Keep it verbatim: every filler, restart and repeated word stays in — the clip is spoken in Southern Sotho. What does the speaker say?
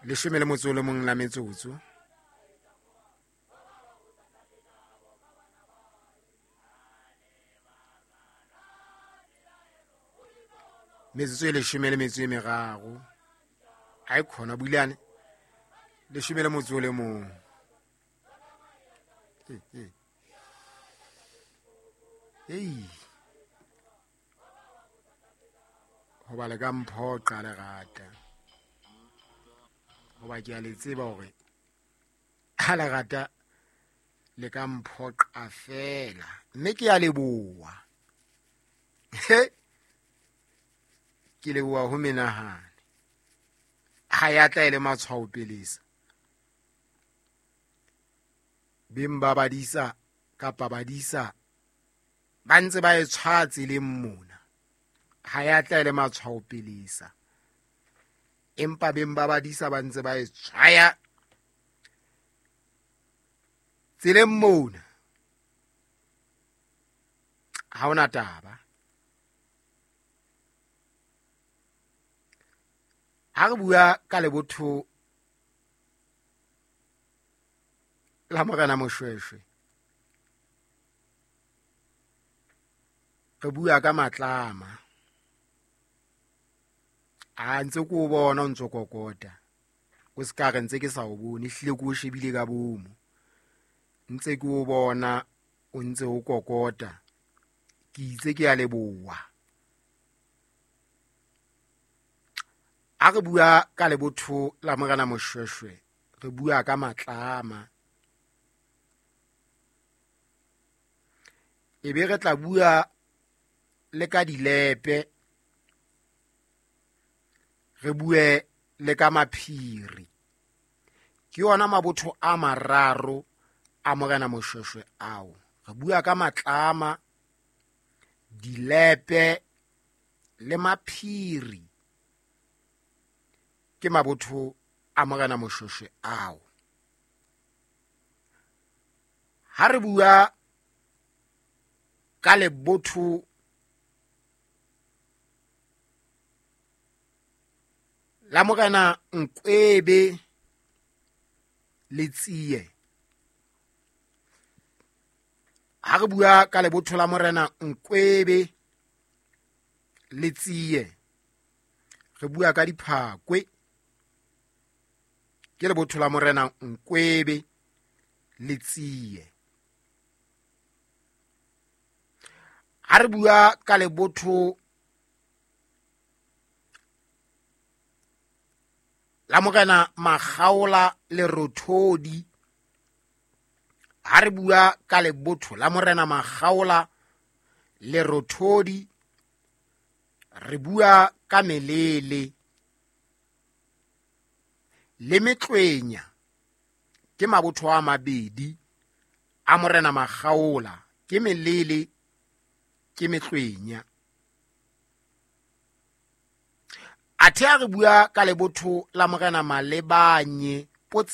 Leshome le motso o le mong la metsotso. Metsotso e leshome le metso e meraro. Ha e khona builane. Leshome le motso o le mong. Hey, hey. Hoba le ka mphoqa lerata. Hoba ke a le tseba hore ha lerata le ka mphoqa fela. Mme ke a leboha. He. Ke leboha ho menahane. Ha ya tla e le matshwao pelesa. Beng ba badisa kapa badisa ba ntse ba e tshwaya tseleng mona. Ha ya tla e le matshwao pelesa. Empa beng ba badisa ba ntse ba e tshwaya tseleng mona. Ha hona taba. Ha re bua ka lebotho la Morena Moshoeshoe, re bua ka matlama. A ntse ke o bona o ntso kokota. O se ka re ntse ke sa o bone, ehlile ke o shebile ka bomo. Ntse ke o bona o ntse o kokota. Ke itse ke a leboha. Ha re bua ka lebotho la Morena Moshoeshoe, re bua ka matlama. E be re tla bua le ka dilepe, re bue le ka maphiri. Ke yona mabotho a mararo a Morena Moshoeshoe ao. Re bua ka matlama, dilepe le maphiri. Ke mabotho a Morena Moshoeshoe ao. Ha re bua ka lebotho la Morena Nkwebe le Tsie. Ha re bua ka lebotho la Morena Nkwebe le Tsie, re bua ka diphakwe. Ke lebotho la Morena Nkwebe le Tsie. Ha re bua ka lebotho la Morena Makgaola le Rothodi, ha re bua ka lebotho la Morena Makgaola le Rothodi, re bua ka melele le metlwenya. Ke mabotho a mabedi a Morena Makgaola, ke melele, ke metlwenya. Athe ha re bua ka lebotho la Morena Malebanye